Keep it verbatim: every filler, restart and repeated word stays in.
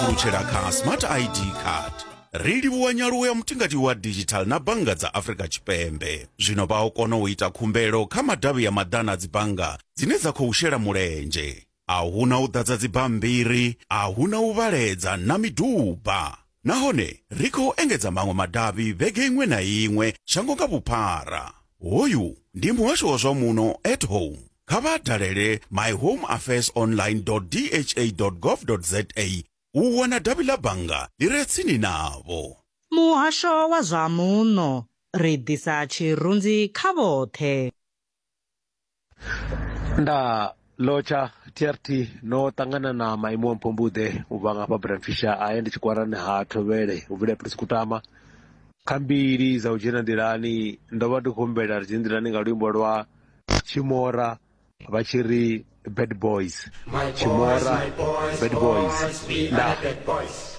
pfulutshela kha Smart I D card. Ri livhuwa nyaluwo ya mutingati wa digital na bannga dza Afrika Tshipembe. Zwino vha o kona u ita khumbelo kha madavhi ya maḓana a dzibannga dzine dza khou shela mulenzhe. A huna u ḓadza dzibammbiri, a huna u vhaledza na miduba. Nahone ri khou engedza maṅwe madavhi vhege iṅwe na iṅwe shango nga vhuphara. Hoyu ndi muhasho wa zwa muno at home. Kha vha dalele my home affairs online dot d h a dot gov dot z a u wana davhi ḽa bannga ḽi re tsini navho. Muhasho wa zwa muno, ri ḓisa tshirunzi kha vhoṱhe. Nda lotsha T R T no ṱangana na maimo a Mpombuḓe u bva ngafha Bram Fischer a ndi tshikwarani ha Thovhele u bvela Prince Kutama. Kha mbili dza u dzhena nḓilani ndo vha ndi khou humbela ri dzhene nḓilani nga luimbo lwa Tshimora vha tshi ri Bad Boys. My Tshimora, boys, my boys, Bad Boys. boys, we Nda. are the bad boys.